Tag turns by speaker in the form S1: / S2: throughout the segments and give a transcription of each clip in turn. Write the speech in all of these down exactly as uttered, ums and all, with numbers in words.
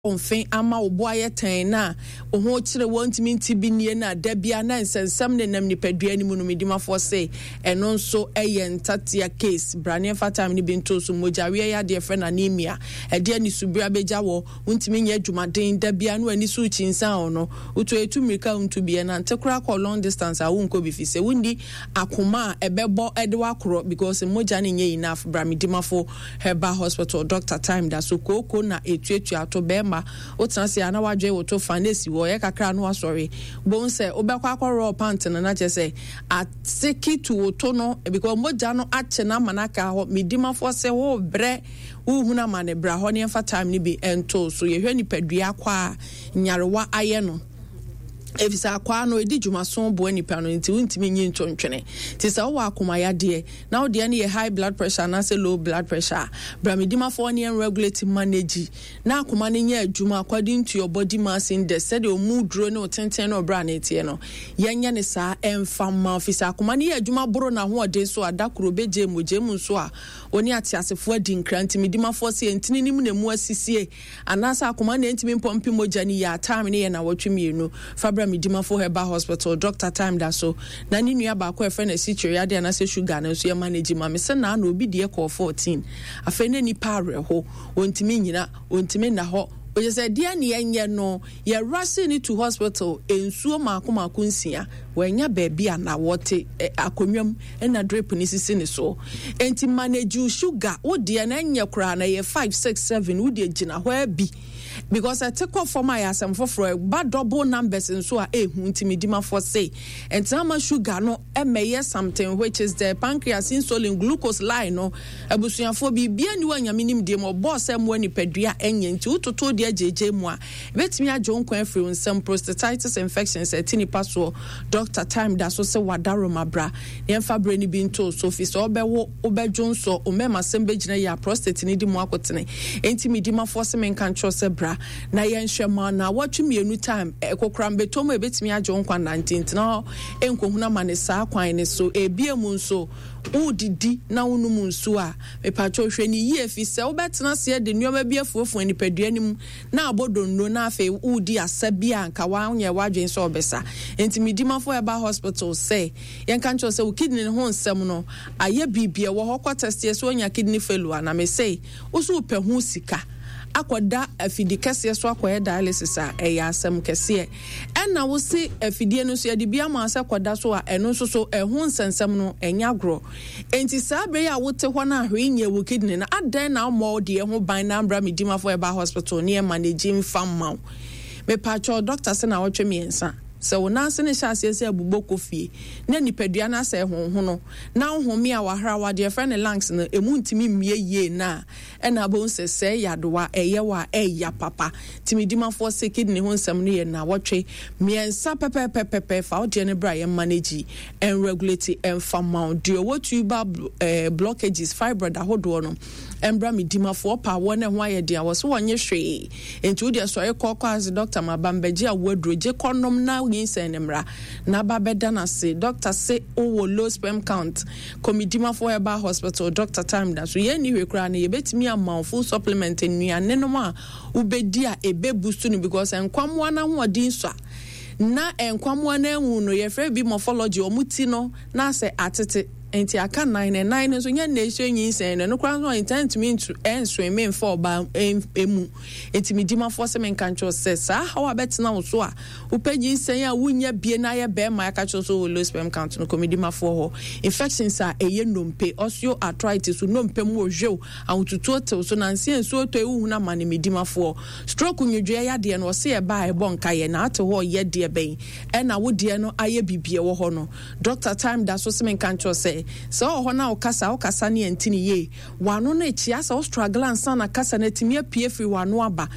S1: Wo mfe ama wo bo ayɛ tɛnn na wo ho kyere wo ntumi nte bi nnie na da bia na nsɛnsɛm nenam nipadua no mu no, Medimafoɔ se ɛno nso yɛ ntatea case. Bra ne yɛmfa time no bi nto so. Mogyaweɛ yadeɛ frɛ no anemia. Ɛde anisobire abɛgya wɔ, wontumi nyɛ adwumaden, da bia na w'ani so rekyinsan wo no, wotu ɛtu mmirika a wontu bi, ɛnante koraa kɔ long distance a wonkɔ bi fi sɛ wonni akoma a ɛbɛbɔ de wo akorɔ because mogya no nyɛ enough. Bra Medimafo Herbal Hospital, Doctor Time da so kooko na etuatua to bɛɛma wotena ase a na wadwen wo to fa na esi hɔ ɔyɛ kakra a na wasɔre bohu sɛ wobɛkɔ akɔ rɔɔ pant no na kyerɛ sɛ aseki to wo to no because mogya no akye no ama no aka hɔ. Medimafoɔ sɛ wo brɛ wohunu amane bra hɔ ne yɛmfa time no bi nto so yɛhwɛ nipadua akɔ a nyarewa ayɛ no efisɛ akwaa no edi dwumaso boa nipa no nti wontumi nyi nto ntwene. Nti sɛ wowɔ akoma yadeɛ na wo deɛ no yɛ high blood pressure anaasɛ low blood pressure a, bra Medimafoɔ ne yɛn regulate manage na akoma no nyɛ adwuma according to your body mass index, sɛdeɛ ɔmu duro ne wo tenten ne wo bra no teɛ no, yɛnyɛ ne saa ɛmfa mma wo fisɛ akoma no yɛ adwuma boro n'ahoɔden so a, da koro ɔbɛgye mogya mu nso a ɔne ateasefoɔ adi nkra. Nti Medimafoɔ sɛ yɛntini no mu na ɛmu asisie anaasɛ akoma na ɛntumi mpɔmpe mogya no yie a, time no yɛ nnawɔtwe mmienu. Fa bra Medimafo Herbal Hospital, Doctor Time da so, na ne nua baako a yɛfrɛ no asikyire yadeɛ anaasɛ sugar no nso yɛ manage ma me. Sɛ naa na obi deɛ kɔɔ fourteen, afei na nipa awerɛho, ɔntumi nnyina, ɔntumi nna hɔ. Ɔyɛ sɛ deɛ ne yɛnyɛ no, yɛ rush no to hospital, nsuo mmaako mmaako nsia, wannya baabi a na wɔte akonnwa mu na drip no sisi ne so. Enti manage wo sugar, wo deɛ no ɛnyɛ koraa na ɛyɛ five, six, seven, wo deɛ gyina hɔ ara bi. Because ɛte kɔ fam a yɛ asɛm foforɔ, ɛba double numbers nso a ɛhu nti medimafoɔ se ɛntena ma sugar no ɛmɛyɛ something which is the pancreas insulin glucose line no. Abusuafoɔ biribia ni wɔ Nyame nimdeɛ mu ɔbɔɔ sɛ mmoa nipadua ɛnyɛ nti wototo deɛ gyegye mu a ɛbɛtumi agye wo nkwa afiri wo nsam. Prostatitis infections ɛte nipa soɔ, Doctor Time da so sɛ wadaroma bra na yɛmfa berɛ no bi nto so fi sɛ wobɛwo wobɛdwo nsɔ wo mmarima sɛm bɛgyina yie a prostate no di mu akotene. Enti medimafoɔ se menka nkyerɛ sɛ bra na yɛnhwɛ ma naawɔtwe mmienu time kokoram bɛtɔ mu a ɛbɛtumi agye wo nkwa nna nti ntena hɔ nkɔhunu amane saa kwan no so. Ebia mu nso wodidi na wonom nsuo a, mepakyɛw hwɛ no yie fi sɛ wobɛtena aseɛ de nneɛma bi afuafua nipadua no mu na abɔ donno na afei woredi asa bi a nka wanyɛ w'adwene sɛ ɔbɛsa. Enti Medimafo Herbal Hospital sɛ yɛnka nkyerɛ wo sɛ wo kidney no ho nsɛm no ayɛ biribi ɛwɔ hɔ kɔ tɛsteɛ sɛ woanya kidney failure na mese wo so wopɛ ho sika akɔda afidi kɛseɛ so akɔyɛ dialysis a ɛyɛ asɛm kɛseɛ. Ɛna wo se afidie no nso yɛde bi ama sɛ kɔda so a ɛno nso so ɛho nsɛnsɛm no ɛnyɛ agorɔ. Enti saa berɛ yi a wote hɔ no a hwee nyɛ wo kidney no, adɛn na wommɔ wo deɛ ho ban na ambra Medimafo Herbal Hospital ne yɛ manage mfa mma wo? Mepakyɛw, dɔkta se naawɔtwe mmiɛnsa. Sɛ wo nan ase no hyɛ aseɛ sɛ abubɔ kɔ fie na nipadua no asɛe honhono na wo home a wahrawa deɛ yɛfrɛ no lungs no ɛmu ntumi mmue yie no a, ɛna wobɛhu sɛ sɛɛ yadewa ɛyɛ wo a ɛya papa. Nti Medimafoɔ se kidney ho nsɛm no yɛ naawɔtwe mmiɛnsa pɛpɛpɛpɛpɛ. Fa wo deɛ no bra yɛn manage ɛnregulate ɛmfa mma wo. Deɛ ɔwɔ tubal eh, blockages, fibroid ahodoɔ no ɛmbra Medimafoɔ. Ɔpa awoɔ no ɛho ayɛ den a wɔ so wɔnye hwee. Nti wo deɛ sɔre kɔ kɔ ase doctor ma ba mbɛgye awoɔ aduro gye kɔ nom na nyinsɛn no mmra na ba bɛda no ase. Doctor se wowɔ low sperm count kɔ Medimafoɔ Herbal Hospital. Doctor time da so yɛn nni hwee koraa no yɛbɛtumi ama wo full supplement nnuane nom a wobɛdi a ɛbɛ boost no because nkwammoa no ahoɔden sua na nkwammoa no anwu no yɛfrɛ bi morphology wɔn ti no na asɛ atete nti aka nan na nan no nso nyɛ na ɛhyɛ nyinsɛn no ɛno koraa nso ntaa ntumi ntu ɛnsoe mfa ɔbaa emu. Nti medimafoɔ sɛ menka nkyerɛ sɛ saa haw a bɛtena wo so a wopɛ nyinsɛn a wonya bie na ayɛ bɛrima aka kyerɛ sɛ wɔ low sperm count no kɔ medimafoɔ hɔ. Infections a ɛyɛ nnompe, osteoarthritis, nnompe mu ohwew, ahotutuo tew so nanse nsuo tɔ ewu hunu ama ne medimafoɔ. Stroke nwodwoeɛ yadeɛ no ɔse ɛba a ɛbɔ nka yɛ na ate hɔ yɛ deɛ bɛn ɛna wo deɛ no ayɛ biribi ɛwɔ hɔ no. Doctor Time da so se menka nkyerɛ sɛ sɛ ɔwɔ hɔ na wokasa wokasa ne ɛnti ne yie w'ano no ɛkyia sɛ wo struggle ansa na kasa no atumi apue firi w'ano aba.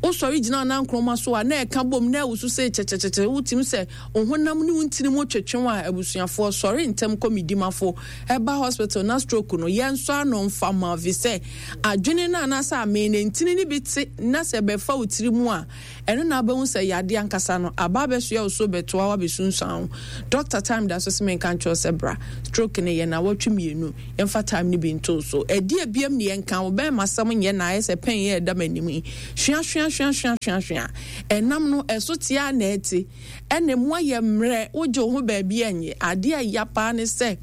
S1: Wosɔre gyina nankroma so a na ɛka bom na ɛwoso sɛ kyɛkyɛkyɛkyɛ wotumi sɛ wo honam ne wo ntini mu twetwe a abusuafoɔ sɔre ntɛm kɔ Medimafo ɛba hospital na stroke no yɛnsɔ ano mfa ma fi sɛ adwene no anaasɛ amee no ntini no bi te na sɛ ɛbɛfa wo tiri mu a ɛno na abɛhu sɛ yadeɛ ankasa no aba abɛsoɛ wo so bɛtoa wo abɛsunsuan wo. Doctor Time da so sɛ menka nkyerɛ sɛ bra stroke no yɛ nawɔtwe mmienu yɛmfa time no bi nto so. Ɛdeɛ biam ne yɛnka wo bɛn masɛm nyɛ na ayɛ sɛ pɛn yɛ ɛda m'anim yi hwea hwea hwea hwea hwea ɛnam no ɛso te a na ɛte ɛna mu ayɛ mmerɛ wogye wo ho baabi ɛnyɛ adeɛ a ɛya paa ne sɛ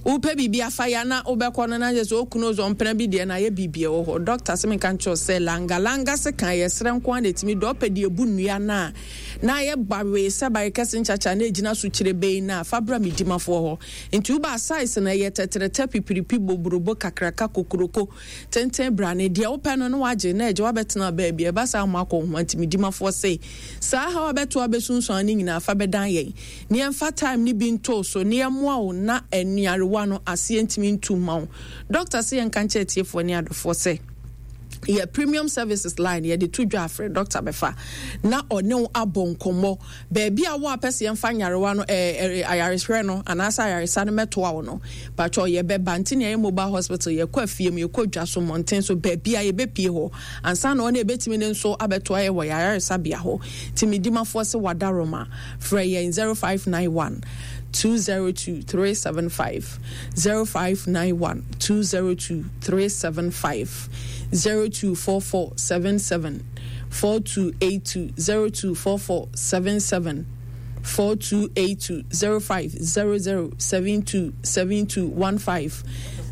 S1: wopɛ biribi afa ya na wobɛkɔ no na kyerɛ sɛ okunu ɔsɛ ɔmpena bi deɛ na ayɛ biribi ɛwɔ hɔ. Dɔkta sɛ menka nkyerɛ sɛ langalanga se kan yɛ serɛ nko ara na ɛtumi dɔ ɔpɛ deɛ ɛbu nnua no a na ayɛ bawee sɛ bare kɛse nkyakya na ɛgyina so kyerɛ bɛyi no a fa bra me dimafoɔ hɔ. Nti woba size no ɛyɛ tɛtrɛtɛ pipiripi boburobo kakraka kokuroko tenten brane deɛ wopɛ no na wagye na ɛgye wabɛtena baabi ɛba saa mo akɔ ho. Nti me dimafoɔ se saa haw abɛto abɛsunsuan ne nyinaa fa bɛdan yɛn ne yɛmfa time ne bi ntoo so ne yɛmmoa wo na nnuarewa no aseɛ ntumi ntu mma wo. Dɔkta sɛ yɛnka nkyerɛ atiefoɔ ne adɔfoɔ sɛ yɛ premium services line yɛde to dwa afrɛ dɔkta bɛfa na ɔne wo abɔ nkɔmmɔ baabi a wo a pɛ sɛ yɛmfa nyarewa no ɛɛ ayarehwɛ no anaasɛ ayaresa no mɛtoa wo no patwɔ yɛbɛba. Nti na yɛyɛ mobile hospital, yɛkɔ afie mu, yɛkɔ dwa so, mmɔnten so, baabi a yɛbɛpie hɔ ansa na ɔne ɛbɛtumi ne nso abɛtoa yɛ wɔ yɛ ayaresabea hɔ. Nti medimafoɔ sɛ wadaroma frɛ yɛn zero five nine one two zero two three seven five zero five nine one two zero two three seven five zero two four four seven seven four two eight two zero two four four seven seven four two eight two zero five zero zero seven two seven two one five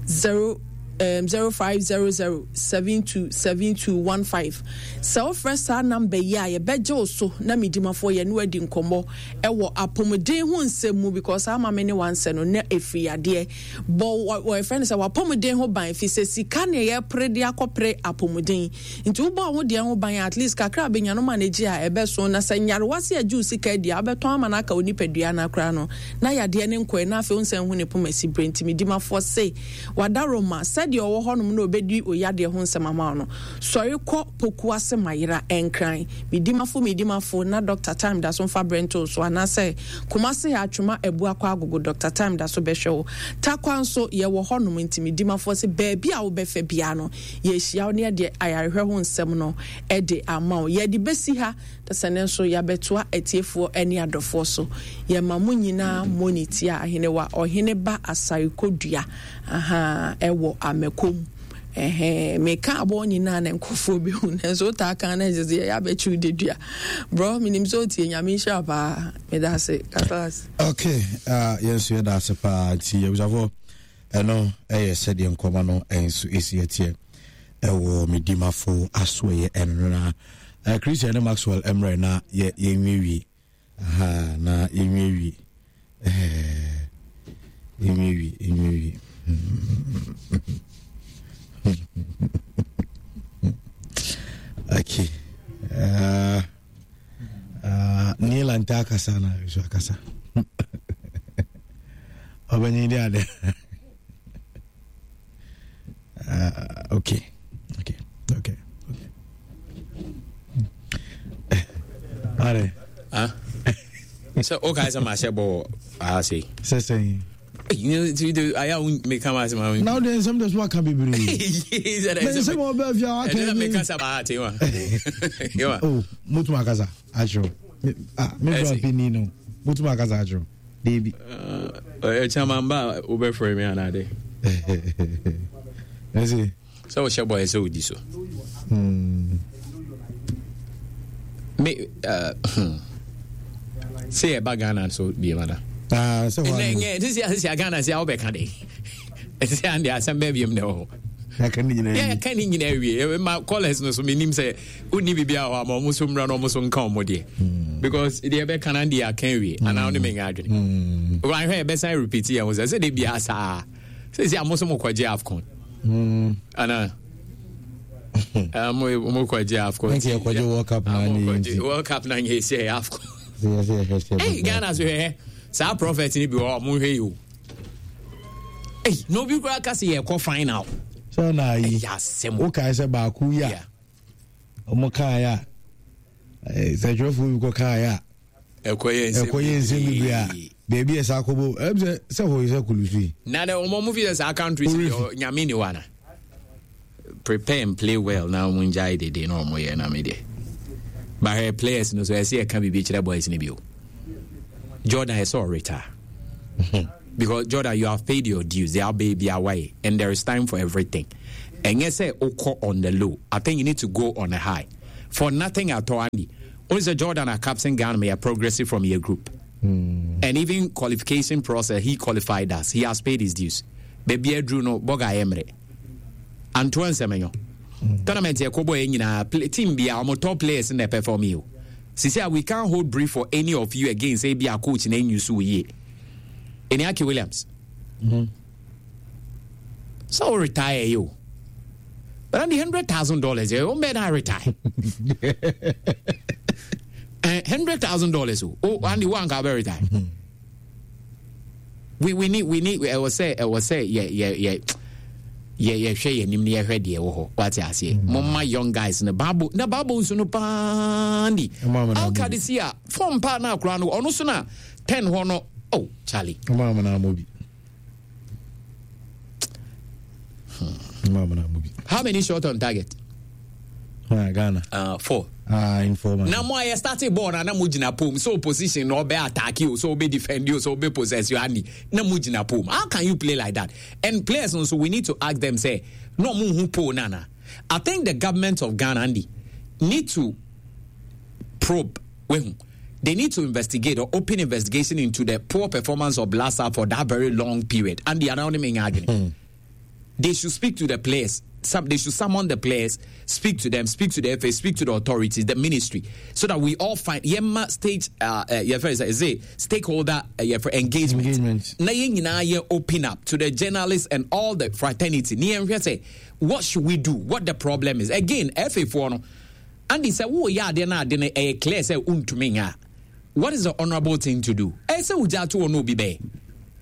S1: zero um, zero five zero zero seven two seven two one five. Sɛ wofrɛ saa namba yi a yɛbɛgye wo so na medimafoɔ yɛne wadi nkɔmmɔ ɛwɔ apɔmuden ho nsɛm mu because ama me ne wansɛ no na ɛfiri yadeɛ bɔ wɔyɛfrɛ no sɛ wapɔmuden ho ban fi sɛ sika ne yɛpere de akɔpere apɔmuden. Nti wobɔ wo deɛ ho ban at least kakra bɛnya no ma no gye a ɛbɛso na sɛ nyarewa se agye wo sika adi a wobɛtɔn ama no aka wo nipadua no akora no na yadeɛ ne nkɔɛ na afei wo nsɛn ho ne poma si berɛ. Nti medimafoɔ se wadaroma sɛdeɛ ɔwɔ hɔnom na ɔbɛdi oyadeɛ ho nsɛm ama wo no sɔre kɔ poku ase mayera ɛnkran medimafo medimafo na Doctor Time da so mfa berɛ so anaasɛ Kumase atwoma abu akɔ agogo Doctor Time da so bɛhwɛ wo. Takwa nso yɛwɔ hɔnom. Nti medimafoɔ sɛ baabi a wobɛfɛ bia no yɛhyia wo ne yɛde ayarehwɛ ho nsɛm no ɛde ama wo. Yɛde bɛsi ha sɛ ne nso yɛabɛtoa atiefoɔ ne adɔfoɔ so. Yɛma mo nyinaa mɔni tia ahenewa ɔhene ba asare kodua aha ɛwɔ amakom. Ɛhɛn meka abɔ nyinaa na nkurɔfoɔ bi hu nanso wotaa kan na ɛsɛ sɛ yɛyɛ abɛkyiw dedua brɔ menim sɛ wotie. Nyame nhyira paa, meda ase kasa.
S2: Okay, uh, yɛn nso yɛda ase paa. Nti abusuafoɔ, ɛno ɛyɛ sɛdeɛ nkɔma no ɛnso ɛsi ɛteɛ ɛwɔ medimafo asoɛyɛ ɛno no na uh, Christian ne Maxwell mmerɛ na yɛ yɛnwiewie aha na yɛnwiewie yɛnwiewie yɛnwiewie okay. uh, uh, Neil ante akasa na so akasa ɔbɛnyin de ade. uh, okay okay okay okay are
S3: ah sɛ wokae sɛ mahyɛ bɔ wɔ aha sei
S2: sɛ sɛn
S3: ayɛ a meka ma asɛm
S2: a na wode nsɛm de so aka bebree nsɛm a wɔbɛɛ fie a waka
S3: ni meka sɛ baa te wa
S2: oh motum akasa akyerɛw me bra panyin no motum akasa akyerɛw deebi
S3: ɛkyɛma mba a wobɛfrɛ me anaade
S2: ɛsɛ
S3: sɛ wohyɛ bɔ ɛ sɛ wodi so me uh, sɛ yɛba Ghana so biema na sɛ Ghana sɛ wobɛka de ɛsɛ ande asɛm bɛɛ biam na ɛwɔ hɔ yɛka ne nyinaa wie ma callers no so menim sɛ wonni biribia hɔ ama ɔmo so mmra no ɔmo so nka ɔmo deɛ because deɛ ɛbɛka no deɛ aka wie anaa wone menya adwene wanhwɛ yɛbɛsan repeat yɛ ho sɛ sɛ de biaa saa sɛ sɛ amo so mokɔgye AFCON anaa mo mo kɔgye AFCON
S2: nti yɛkɔgye World Cup na
S3: nyɛ World Cup na nyɛ sɛ AFCON. Hey, Ghana so hwɛ saa prophet ni bi wɔ ɔmo hwɛ yi o. Hey, na obi koraa ka sɛ yɛkɔ final.
S2: Sɛ na ayi wokae sɛ baako yi a ɔmo kaeɛ a sɛ twerɛfoɔ bi kɔ kaeɛ a
S3: ɛkɔyɛ
S2: nsɛm bebree a baabi a ɛsɛ akɔbɔ ɛm sɛ sɛ hɔ sɛ kulusu yi.
S3: Na dɛ ɔmo ɔmo fi sɛ saa countries nyame ni wa na prepare and play well na ɔmo ngyae dede na ɔmo yɛ na me deɛ bahwɛ players no so ɛsɛ yɛka biribi kyerɛ boys no bio. Jordan ɛsɛ ɔreta because Jordan, you have paid your dues, they are baby away and there is time for everything. Ɛnyɛ sɛ wokɔ on the low, I think you need to go on a high. For nothing at all, Andy. Only sɛ Jordan a captain Ghana may progressive from your group. Mm. And even qualification process, he qualified us. He has paid his dues. Baby Drew no boga emre. Antoine Semenyo. Mm. Tournament yɛ kɔbɔ yɛ nyinaa team bi a wɔn top players na perform yi o. Sisi a we can't hold brief for any of you again say bi a coach na enyu so yie. Eniaki Williams. Mm. So retire you. But on the hundred thousand dollars, you won't better retire. uh, hundred thousand dollars. Oh, and the one can retire. Mm-hmm. We we need we need. I was say I was say yeah yeah yeah. Yeah, yeah, hwɛ yɛ nim ne yɛhwɛ deɛ wɔ hɔ wate aseɛ momma young guys no baabo na baabo nso no paa ni alka de si a fɔm paa na akora no ɔno so na ten hɔ no oh Charlie How many shot on target?
S2: Ah, Ghana.
S3: Uh, four.
S2: Ah, in four.
S3: Na mo ayɛ starting ball na na mo gyina pom so opposition na ɔbɛ attack you so ɔbɛ defend you so ɔbɛ possess you ani na mo gyina pom. How can you play like that? And players also we need to ask them say no mo hu pole nana. I think the government of Ghana Andy need to probe wehu. They need to investigate or open investigation into the poor performance of Blasta for that very long period. And the anonymous mm. They should speak to the players. Some, they should summon the players, speak to them, speak to the F A, speak to the authorities, the ministry, so that we all find yemma stage uh, uh, is it stakeholder uh, for engagement.
S2: Engagement.
S3: Na yɛn nyinaa yɛ open up to the journalists and all the fraternity. Ni yɛn hwɛ sɛ, what should we do? What the problem is? Again, F A four no. Andy said, "Oh yeah, they na they eh clear say untumi nya. What is the honorable thing to do? Eh say uja to no be be.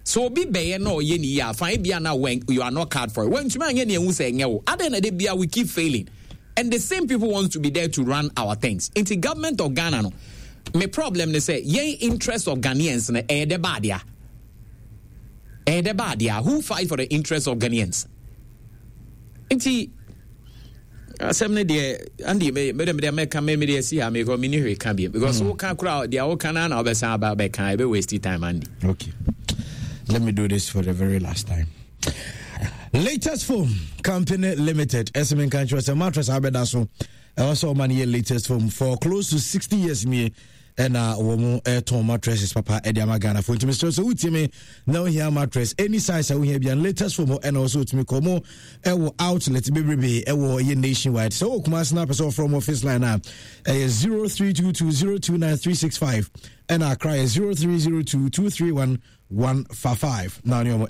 S3: So be be no ye ni ya fine be na when you are not card for it. When tumi anya ne hu say nye wo. Ade na de bia we keep failing. And the same people want to be there to run our things. Inti government of Ghana no. Me problem ne say ye interest of Ghanaians na eh de bad ya. Eh de bad ya. Who fight for the interest of Ghanaians? Inti asɛm ne deɛ Andy me me me me me me deɛ si ha me ko me ni hwe ka bi because wo ka kura deɛ wo ka na na obɛsan aba bɛka e be waste time Andy.
S2: Okay, let me do this for the very last time. Latest Foam Company Limited S M country was a mattress abeda so also man here latest foam for close to sixty years me and uh woman air ton mattresses papa Ediama Ghana for to Mister so me now here mattress any size we have and latest foam and also to me come eh outlet baby eh nationwide so kuma snap so from office line now eh zero three two two zero two nine three six five and Accra zero three zero two two three one one five five. Now you know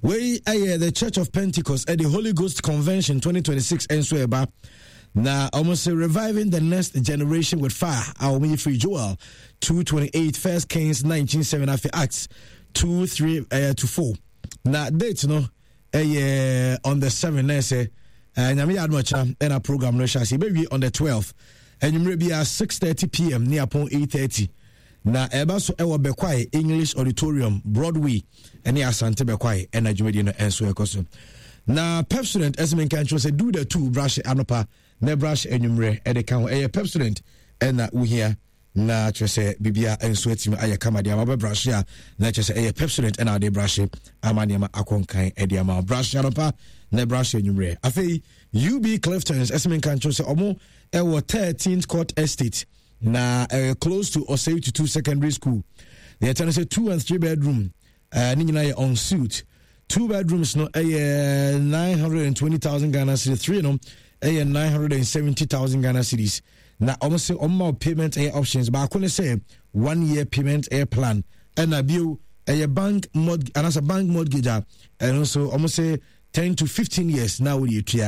S2: we eh the Church of Pentecost at the Holy Ghost Convention twenty twenty-six and so eba. Now, almost reviving the next generation with fire. Our free Joel two twenty-eight, First Kings nineteen seven, after Acts two three uh, to four. Now, date no, eh, on the seventh, I say, and I'm and a program no shall see baby on the twelfth, and you may be at six thirty p m near upon eight thirty. Now, eba so ewa Bekwai English Auditorium, Broadway, and Asante Bekwai, and I and so ekoso. Now, Pepsodent, as men can say, do the two brush anopa. Ne brush enumere e de kan e Pepsodent e na wo na kyerɛ bibia enso atimi ayɛ kama de ama brush a na kyerɛ sɛ Pepsodent e na de brush ama nneɛma akonkan e de ama brush anopa na brush enumere afei U B Cliftons esmen kan kyerɛ sɛ ɔmo e wɔ thirteenth Court Estate na uh, close to Osei Tutu Secondary School. They are say two and three bedroom uh, ne nyinaa yɛ en suite. Two bedrooms no eh nine hundred twenty thousand Ghana cedis, three no eh nine hundred seventy thousand Ghana cedis. Na almost say on payment air options but I say one year payment air plan and a bill a bank mod and as a bank mortgage and also almost say ten to fifteen years now with you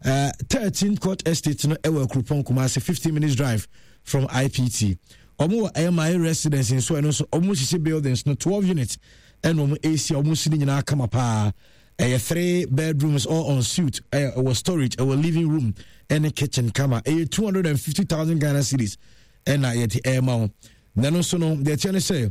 S2: uh thirteenth Court Estate no ewa Krupon Kumasi fifteen minutes drive from I P T. Omo M I residence in so and also almost buildings no twelve units and omo A C almost sitting in our kama pa. A three bedrooms all en suite, a storage, a living room, and a kitchen kama. A two hundred and fifty thousand Ghana cedis, and I yet air mount. Then also no, the attorney say,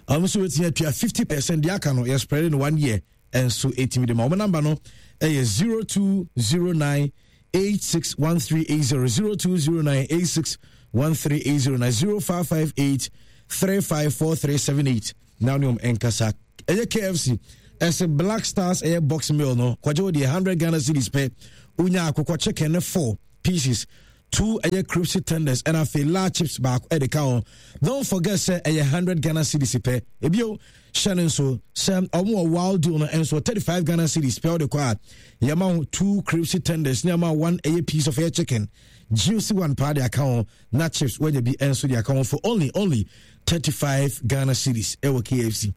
S2: I'm also waiting here fifty percent. The account is spread in one year, and so eighty million. My number no, a zero two zero nine eight six one three eight zero zero two zero nine eight six one three eight zero nine zero five five eight three five four three seven eight. Now no enkasa. A K F C. As a Black Stars air box meal no kwajo the one hundred Ghana cedis pay unya akokɔ chicken four pieces, two ɛyɛ crispy tenders, ɛna afei large chips baako ɛde ka ho. Don't forget sɛ ɛyɛ hundred Ghana cedis pɛ. Ebio hyɛ no nso sɛ ɔmo wɔ wild deal no nso thirty five Ghana cedis pɛ ɔde kɔ a yɛma ho two crispy tenders ne ama one ɛyɛ piece of ɛyɛ chicken juicy one paa de aka ho na chips wɔnya bi nso de aka ho for only only thirty five Ghana cedis ɛwɔ K F C.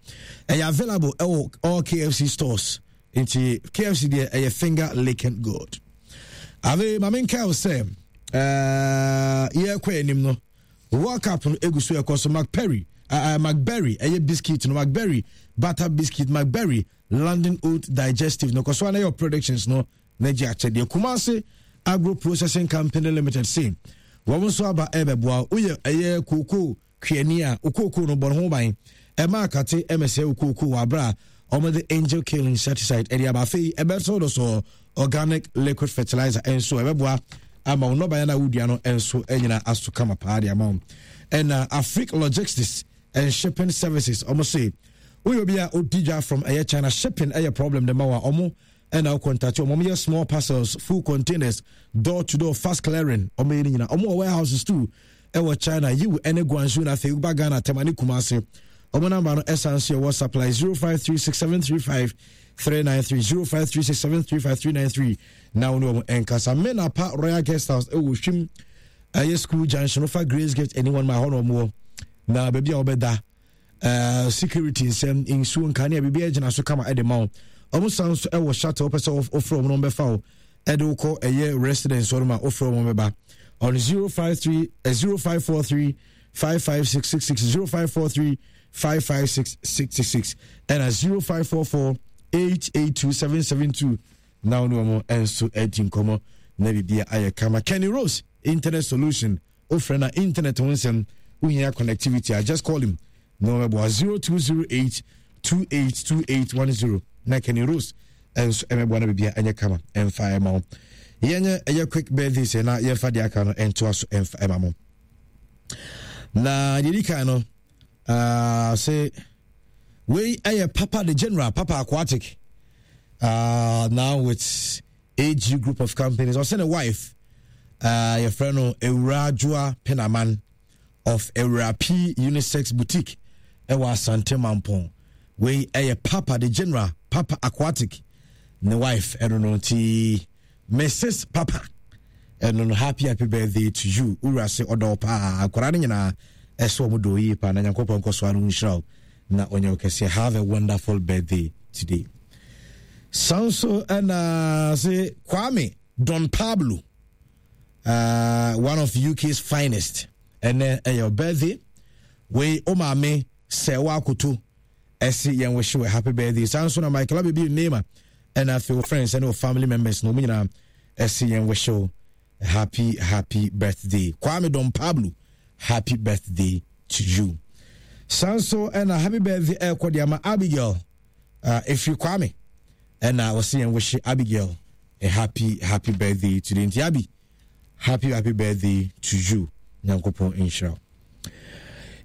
S2: Ɛyɛ available ɛwɔ all K F C stores, nti K F C deɛ, ɛyɛ finger licking good. Afei maame nkae sɛ ɛɛ yɛrekɔ anim no, World Cup no egu so ɛkɔ so. McPerry, uh, McBerry ɛyɛ biscuit no, McBerry butter biscuit, McBerry London Oat Digestive no, kɔ so ana yɛ predictions no na gye akyɛdeɛ. Kumase Agro Processing Company Limited se wɔn nso aba ɛbɛboa. Woyɛ ɛyɛ kookoo kuani a, okookoo no bɔ ne ho ban, ɛma akate ɛmɛsɛ okookoo wɔ abera a wɔde Angel Kill insecticide ɛde aba. Afei ɛbɛsɔ do so organic liquid fertilizer nso ɛbɛboa ama wo nnɔbaeɛ no a wodua no nso anyina aso kama paa de ama wo. Ɛna Afric Logistics and Shipping Services, ɔmo se woyɛ obi a odi dwa from ɛyɛ China, shipping ɛyɛ problem de ma wa, ɔmo ɛna wo contact ɔmo. Ɔmo yɛ small parcels, full containers, door to door, fast clearing, ɔmo yɛ ne nyinaa. Ɔmo wɔ warehouses too ɛwɔ China, Yiwu ɛne Guangzhou, na afei woba Ghana, Tema ne Kumase. Ɔmo number no ɛsan so yɛ WhatsApp line zero five three six seven three five three nine three, zero five three six seven three five three nine three, na wo ne ɔmo ɛnkasa. Menapa Royal Guest House ɛwɔ Hwim ɛyɛ school junction, wofa Grace Gate anyone ma hɔ na ɔmo wɔ, na baabi a wɔbɛda, uh, security nsɛm, nsuo, nkanea, biribi agyina so kama ɛde ma wo. Ɔmo san so ɛwɔ shuttle, wopɛ sɛ wofrɛ ɔmo na ɔmbɛfa wo ɛde wokɔ ɛyɛ residence hɔ no ma wofrɛ ɔmo bɛba on zero five three uh, zero five four three five five six six six, zero five four three five five six six six, ɛna zero five four four eight eight two seven seven two, na wo ne ɔmo nso adi nkɔmmɔ na biribia ayɛ kama. Kenny Rose Internet Solution, wofrɛ na internet ho nsɛm wohia connectivity a, just call him na ɔbɛboa zero two zero eight two eight two eight one zero, na Kenny Rose nso ɛmɛboa na biribia ɛnyɛ kama ɛmfa ɛma wo. Yɛnyɛ ɛyɛ quick birthday sɛ na yɛmfa deɛ aka no ɛntoa so ɛmfa ɛma mo. Na deɛ di kan no, uh, sɛ wei ɛyɛ Papa the General, Papa Aquatic, uh, now with A G Group of Companies. Ɔsɛ ne wife, uh, yɛfrɛ no Ewura Adwoa Penaman of Ewura P Unisex Boutique ɛwɔ Asante Mampɔn. Wei ɛyɛ Papa the General, Papa Aquatic, ne wife ɛno no, nti Missus Papa ɛno no, happy happy birthday to you. Wura se ɔdɔ paa, akwaraa no nyinaa ɛsɛ wɔn dɔ yie paa, na Nyankopɔn nkɔ so ano nhyira wo na ɔnyɛ wo kɛseɛ. Have a wonderful birthday today. San so ɛna se Kwame Don Pablo, uh, one of U K's finest, ɛnɛ ɛyɛ birthday. Wei o maame sɛ wakoto ɛsi yɛn wish you a happy birthday. San so na Michael Abebi Nema ɛna afei wo friends ɛne wo family members na wɔn nyinaa ɛsi yɛn wish you a happy happy birthday. Kwame Don Pablo, happy birthday to you. San so ɛna happy birthday ɛkɔ de ama Abigail, uh, efiri Kwame, ɛna wɔsi yɛn wish Abigail a happy happy birthday today. Nti Abi, happy happy birthday to you, Nyankopɔn nhyira.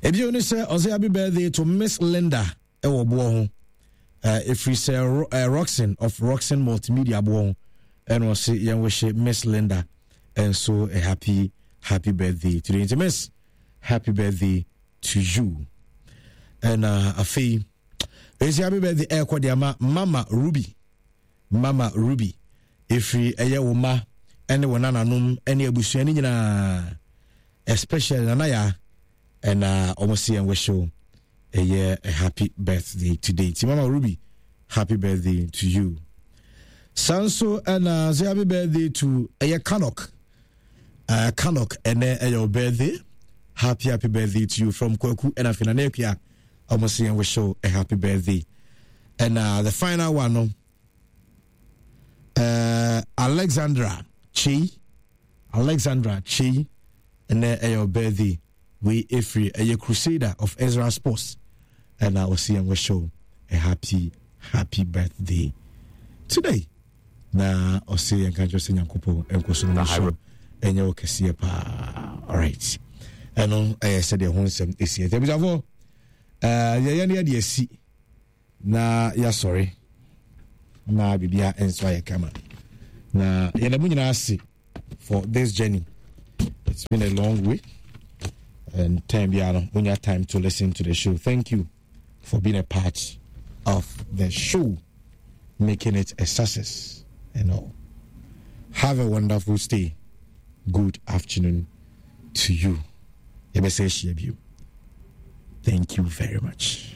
S2: Ebio ne sɛ ɔsɛ happy birthday to Miss Linda ɛwɔ boɔ ho, ɛfiri sɛ uh, Roxon of Roxon Multimedia boɔ ho, ɛna ɔse yɛn wish Miss Linda nso a happy happy birthday today. Nti Miss, happy birthday to you. Ɛna afei ɛsi happy birthday ɛrekɔ de ama Mama Ruby. Mama Ruby, ɛfiri ɛyɛ wo ma ɛne wo nananom ɛne abusua no nyinaa, especially Nana Ya, ɛna wɔn si yɛn wish ɛyɛ a happy birthday today. Ti Mama Ruby, happy birthday to you. San so ɛna say happy birthday to ɛyɛ Kanok, uh, Kanok, ɛnɛ ɛyɛ birthday. Happy happy birthday to you from Kwaku ɛna afei Nana Akua. Wɔn si yɛn wish a happy birthday. Ɛna the final one no, uh, Alexandra Chei, Alexandra Chei, ɛnɛ ɛyɛ birthday. Wei ɛfiri ɛyɛ Crusader of Ezra Sports, ɛna ɔsi yɛn wish a happy happy birthday today, na ɔsi yɛn ka kyerɛ sɛ Nyankopɔn nkɔ so no so ɛnyɛ wɔ kɛseɛ paa. Alright, ɛno ɛyɛ sɛdeɛ ho nsɛm ɛsi. Ɛtɛ abusuafoɔ, ɛɛ yɛyɛ no yɛde asi na yɛasɔre na biribia nso ayɛ kama, na yɛda mu nyinaa ase. for this journey. It's been a long way, and time biara no wonya time to listen to the show. Thank you for being a part of the show, making it a success and all. Have a wonderful stay. Good afternoon to you. Yɛbɛsɛ ahyia bio. Thank you very much.